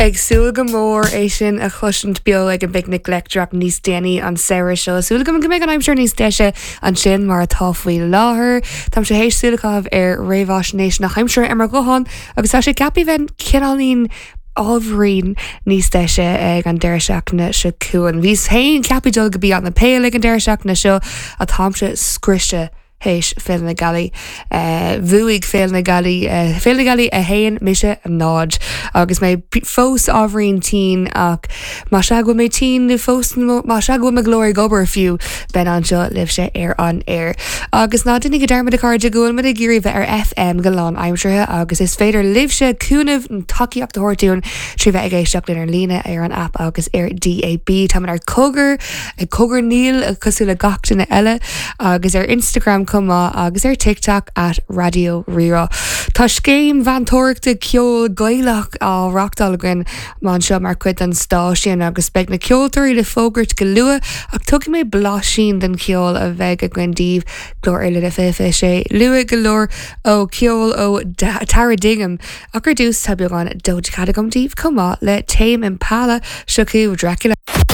Ag súil go mór é sin a chloisint beo ag an bPicnic Leictreach níos déanaí an samhradh seo. Súil agam go mbeidh an aimsir níos deise ansin mar atá faoi láthair. Táimse théis súil a chaitheamh ar réamhaisnéis na haimsire ar mo ghuthán agus tá sé ceaptha bheith cineáilín ábhairín níos deise ag an deireadh seachtaine seo chugainn. Bhíos féin ceaptha dul go Beyond the Pale ag an deireadh seachtaine seo ach táimse scriosta théis Féile na Gealaí. Bhuaigh Féile na Gealaí, Féile na Gealaí 1, mise 0. Agus mé fós ábhairín tinn ach más ea go bhfuil mé tinn nó fós más ea go bhfuil mo ghlór ag obair fiú, beidh anseo libhse ar an aer. Agus ná déanaigí dearmad a chairde go bhfuil muid ag iarraidh bheith ar FM go lánaimseartha agus is féidir libhse cúnamh nó tacaíocht a thabhairt dúinn trí bheith ag éisteacht linn ar líne ar an aip agus ar DAB. Táimid ar Cogar ag cogarnaíl cosúil le gach duine eile agus ar Instagram chomh maith agus ar TikTok at Raidió Rí-Rá. Tá scéim mheantóireachta ceoil Gaelach á reachtáil againn anseo mar chuid den stáisiún agus beidh na ceoltóirí le fógairt go luath ach tugfaidh mé blaisín den cheol a bheidh againn daoibh Glór ar Líne 2026 luath go leor ó ceol ó Tara Dignam ach ar dtús tá beagán Doja Cat agam daoibh chomh maith le Tame Impala seo chugaibh Dracula.